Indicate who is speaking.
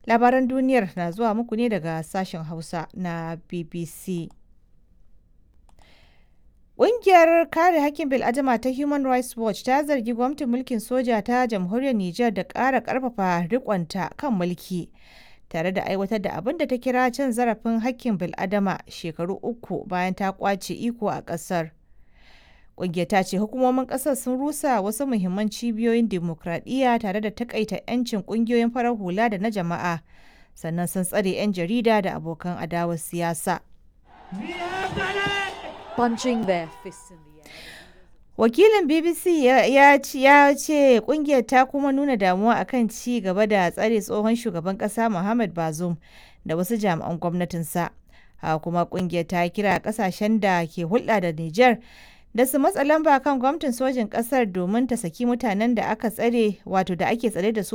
Speaker 1: Labaran duniyar na zuwa muku ne daga sashen Hausa na BBC. Ƙungiyar kare hakkin bil'adama ta Human Rights Watch ta zargi gwamnatin mulkin soja ta jamhuriyar Nijar da ƙara ƙarfafa riƙonta kan mulki, tare da aiwatar da abin da ta kira cin zarafin hakkin bil'adama shekaru 3 bayan ta ƙwace iko a ƙasar. Ƙungiyar ta ce hukumomin ƙasar sun rusa wasu muhimman cibiyoyin dimokuraɗiyya tare da takaita 'yancin ƙungiyoyin farar hula da na jama'a, sannan sun tsare 'yan jarida da abokan adawar siyasa.
Speaker 2: Punching their fists in the air.
Speaker 1: Wakilin BBC ya ce kungiyar ta kuma nuna damuwa akan ci gaba da tsare tsohon shugaban kasa Muhammad Bazoum da wasu jami'an gwamnatinsa. Haka kuma kungiyar ta kira kasashen da ke hulɗa da Nijar da su matsa lamba kan gwamnatin sojin kasar domin ta saki mutanen da aka tsare, wato da ake tsare da su.